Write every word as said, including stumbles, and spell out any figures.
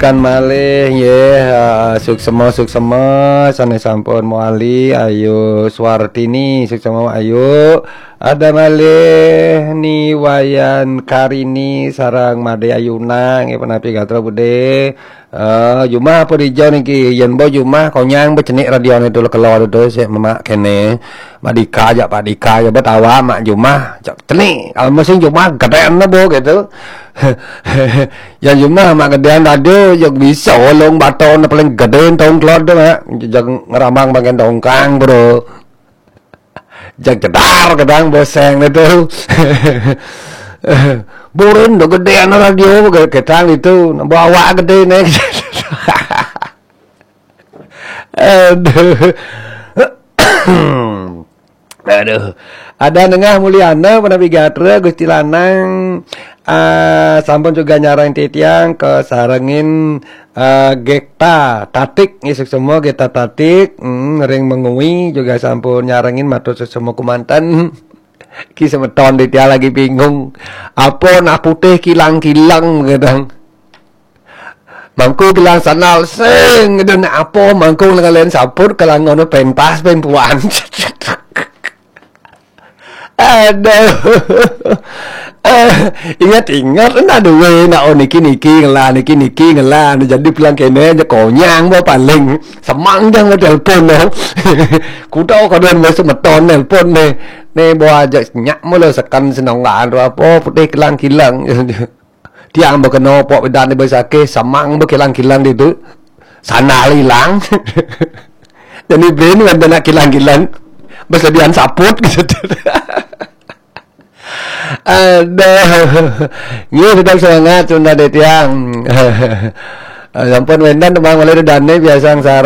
Kan malih nggih, eh, suksema-suksema sané sampun mawali, Ayu Swartini, suksema Ayu. Ada malih Ni Wayan Karini sareng Madé Ayuna nggih, punapi gatra budé. Eh, jumah apa dija niki? Yén ba jumah konyang ba cenik radioné tu kelo tu sik memak kéné. Mak Dika jak Pak Dika ya ba tawa mak jumah. Jak cenik. Kalau musim jumah gedéan bo gitu. Yang jumah mak gedéan radio, jog bisa olong baton paling gedé tong klod tu mak. Jog ngeramang bagian tongkang, bro. Jog jedar gedang boseng tu. Burin do gedéan radio, gedang itu. Bawa gedé nih. Aduh. Aduh. Ada Nengah Mulyana, Panapi Gatra, Gusti Lanang, ah, sampun juga nyarang titiang kasarengin, ah, Gekta Tatik, nggih, suksema Gekta Tatik, hmm, ring Mengwi juga sampun nyarengin, matur suksema kumanten. Ki semeton titiang lagi bingung. Apa nak putih kilang-kilang, kadang. Mangku bilang sandal sing, dan apa mangku lengan saput kalangan pentas pempuan. Aduh. Eh, ingat-ingat, nah duwe, nak, oh, niki-niki ngelah, niki-niki ngelah. Jadi bilang kene aja konyang, bah, paling semang jang mau telepon, no. Kuda kadang mau semeton telepon nih. Nih, bawa aja nyak mula sekan senonggaan tu apa, putih kilang-kilang. Tiang ba kena pok bedan di besake, samang ba kilang-kilang ditu. Sandal ilang. Jadi brin kan nak kilang-kilang. Besedian saput gitu. Aduh. Nggih, tetap semangat, Sunda Detiang. Sampun wendan tembang malih dedane biasa angsara.